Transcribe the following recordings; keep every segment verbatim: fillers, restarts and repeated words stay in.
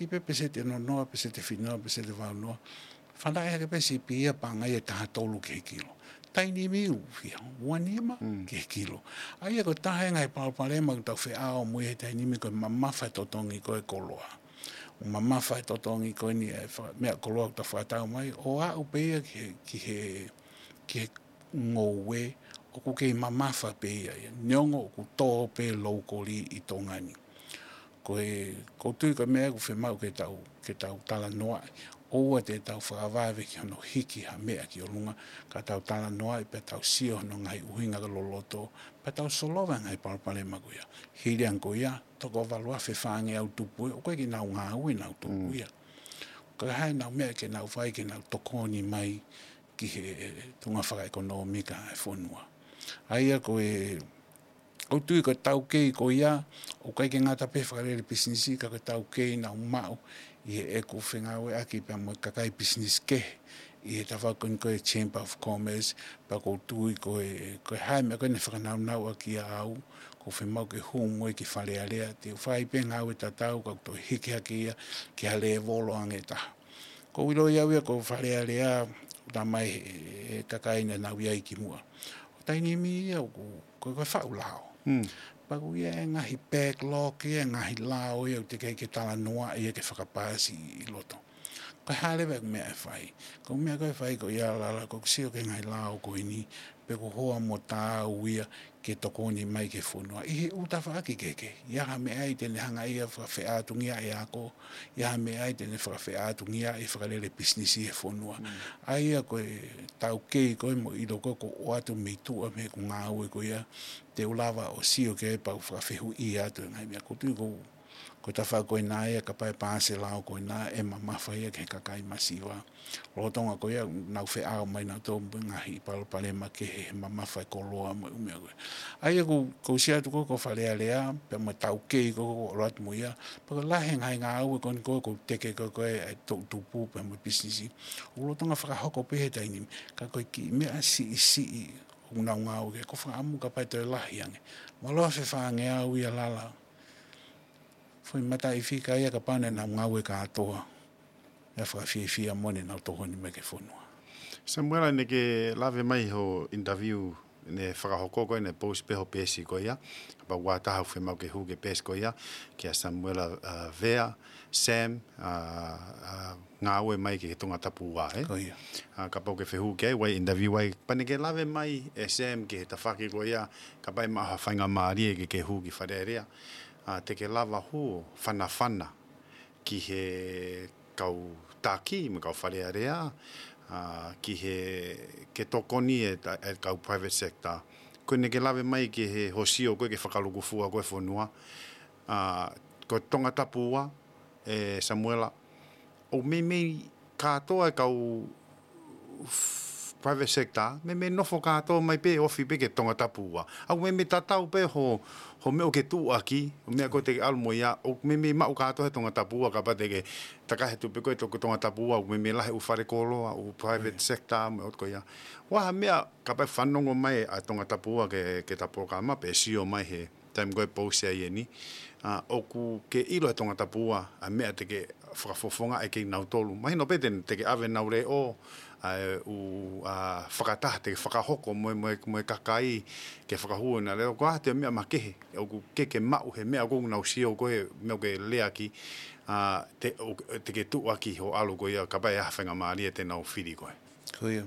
Pē peseti ʻe noa noa, peseti ʻe fitu noa, peseti ʻe valu noa. Fanauʻi hake pē sipi ia paʻanga ia ʻe taha tolu ki he kilo. Taimi ni ʻoku fiha, ua nima ki he kilo. ʻA ia ko e taha e ngaahi palopalema ʻoku tau feʻao mo ia he taimi ni ko e mamafa e totongi ko ē koloa. ʻOku mamafa e totongi ko eni e fa-, meʻa koloa ʻoku tau fakatau mai, ʻo aʻu pē ia ki he, ki he, ki he ngoue, ʻoku kei mamafa pē ia ia. Neongo ʻoku tō pē locally ʻi Tonga ni. Ko e, ʻoku ou tui ko e meʻa ʻoku fiemaʻu ke tau, ke tau talanoaʻi. ʻOua te tau fakavave ki hono hiki ha meʻa ki ʻolunga, ka tau talanoaʻi pea tau sio hono ngaahi ʻuhinga loloto, pea tau solova e ngaahi palopalema ko ia. Hili ange ko ia, toko valu afe fāngeau tupu ē, ʻoku ʻikai ke nau ngāue ʻenau tupu ia. Ko e hā ʻenau meʻa ke nau fai ke nau tokoni mai ki he tuʻunga fakaʻekonōmika e fonua. ʻA ia ko e, ʻoku ou tui ko e taukei ko ia, ʻoku ʻikai ke ngata pē fakalele pisinisi, ka ko e taukei naʻa ku maʻu ʻi heʻeku fengāueʻaki pea mo e kakai pisinisi kehe ʻi he tafaʻaki ko eni ko e Chamber of Commerce, pea ʻoku ou tui ko e, ko e hā e meʻa ko eni naʻe fakanaunau ʻaki ia au, ʻoku ou fiemaʻu ke hū mo ia ki Fale Alea, te u fai pē ngāue tatau, ka ʻoku toe hiki hake ia ki ha lēvolo ange ʻe taha. ʻOku ou ʻiloʻi au ia ko Fale Alea, ʻoku talamai ʻe he, he kakai naʻa nau ʻi ai kimuʻa. ʻO taimi ni ia ʻoku, ko, ko e faʻu lao. Pea ʻoku ʻi ai e ngaahi backlog ia, ngaahi lao ia, ʻoku teʻeki ai ke talanoaʻi ia ke fakapaasi ʻi loto. Ko e hā leva e meʻa ʻe fai. Ko e meʻa ko ē ʻe fai ko ia Lala, ko ʻeku sio ki he ngaahi lao ko eni, pe ʻoku hoa mo taau ia ke tokoni mai ki he fonua. ʻI he ʻū tafaʻaki kehekehe. ʻI ai ha meʻa ia te ne hanga ia fakafeʻātungiaʻi e ako, ʻi ai ha meʻa ia te ne fakafeʻātungiaʻi e fakalele pisinisi he fonua. ʻA ia ko e taukei ko ē mo e ʻilo ko ē ʻoku ʻoatu mei tuʻa mei heʻeku ngāue ko ia, te u lava ʻo sio ki ai pea u fakafehuʻi atu e ngaahi meʻa. ʻOku ou tui ko, ko e tafaʻaki ko ena ia kapau ʻe paasi e lao ko ena ʻe mamafa ia ki he kakai masiva. Lolotonga ko ia, nau feʻao mai nautolu mo e ngaahi palopalema kehe he mamafa e koloa mo e ʻū meʻa ko ē. ʻA ia ʻoku, ʻoku ou sio atu ko, ko Fale Alea, pea mo e taukei ko, ko ʻoatu mo ia, pea ʻoku lahi e ngaahi ngāue ko eni ko, ko e teke ko, ko e, e toʻutupu, pea mo e pisinisi. ʻOku lolotonga fakahoko pē he taimi ni, ka ko e kiʻi meʻa siʻisiʻi, ʻoku nau ngāue ki ai, ʻoku ou fakaʻamu kapau ʻe toe lahi ange. Valu afe fāngeau ia Lala. Foʻi mataʻifika ia kapau naʻa nau ngāue kātoa. ʻE fakafiefia mo ʻenau tokoni mai ki he fonua. Samuela, naʻá ke lave mai ho interview naʻe fakahoko ko ē, naʻe post pē ho peesi ko ia. Kapau ʻe ʻi ai ha taha ʻoku fiemaʻu ke hū ki he peesi ko ia, kia Samuela, uh, Vea, Sam, uh, uh, ngāue mai ki he Tongatapu Ua, ē? Ko ia. Uh, kapau ʻokú ke fie hū ki ai, ʻoku ʻi ai e interview ai. Pea naʻá ke lave mai ʻe Sam ki he tafaʻaki ko ia, kapau ʻe maʻu ha faingamālie ke ke hū ki Fale Alea. Uh, te ke lava hū ʻo fanafana ki he kau taki mo e kau Fale Alea, uh, ki he, ke tokoni e ta-, e kau private sector. Ko eni naʻá ke lave mai ki he ho sio ko ē ki he fakalūkufua ko ē e fonua. Uh, ko Tongatapu Ua, ē Samuela, ʻoku meimei kātoa e kau f-, private sector, meimei nofo kātoa mai pē, ofi pē ki he Tongatapu Ua. ʻOku meimei tatau pē ho, ho meʻa ʻokú ke tuʻuaki, meʻa ko ē te ke ʻalu mo ia, ʻoku meimei maʻu kātoa he Tongatapu Ua, kapau te ke takahe tu pē ko ē to-, ko Tongatapu Ua, ʻoku meimei lahi e ʻū fale koloa, ʻū private sector, mo e ʻū ko ia. ʻOku ʻi ai ha meʻa, kapau ʻe fanongo mai ʻa Tongatapu Ua ki he, ki heʻeta polokalama, pe sio mai he taimi ko ē ʻe post ai eni. ʻA, ʻokú ke ʻilo ʻe Tongatapu Ua ʻa e meʻa te ke fakafofongaʻi kinautolu. Mahino pē te, te ke ʻave ʻenau leʻo, ʻa e ʻū, ʻa, fakataha te ke fakahoko mo e, mo e, mo e kakai ke fakahū ʻenau leʻo. Ko e hā ha meʻa makehe ʻokú ke, ke maʻu he meʻa ʻoku nau sio ko ē, meʻa ʻokú ke leaʻaki, ʻa, te, ʻo, te ke tuʻuaki ho ʻalu ko ia kapau ʻe ʻi ai ha faingamālie te nau fili koe. Ko ia.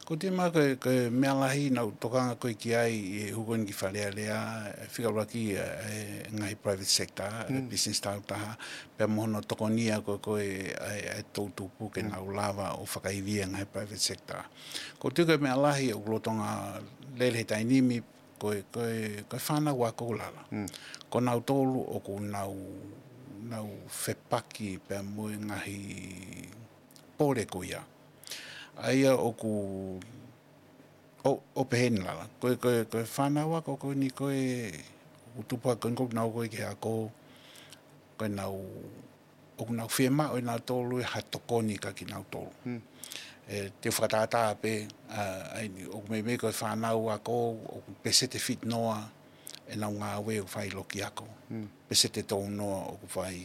ʻOku ou tui ko e, ko e meʻa lahi naʻá ku tokanga ko ē ki ai ʻi he hū ko eni ki Fale Alea, ʻa e fika ʻuluaki ʻa e, ʻa e ngaahi private sector, ʻa e business tāutaha, pea mo hono tokonia ko ē, ko ē ʻa e, ʻa e toʻutupu ke nau lava ʻo fakaivia e ngaahi private sector. ʻOku ou tui ko e meʻa lahi ʻoku lolotonga lele he taimi ni, ko e, ko e, ko e fānau ako Lala. Ko nautolu ʻoku nau, nau fepaki pea mo e ngaahi pole ko ia. ʻA ia ʻoku, ʻo, ʻo pehē ni Lala. Ko e, ko e, ko e fānau ako ko eni ko ē, ʻoku tupu hake ko eni ʻoku nau ako ki he ako, ko ʻenau, ʻoku nau fiemaʻu ʻe nautolu ha tokoni kia kinautolu. ʻE, te u fakatātā pē, ʻa, ʻa eni, ʻoku meimei ko e fānau ako, ʻoku peseti ʻe fitu noa ʻenau ngāue ʻoku fai ʻi loki ako. Peseti ʻe tolu noa ʻoku fai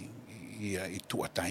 ia ʻi tuʻa taimi.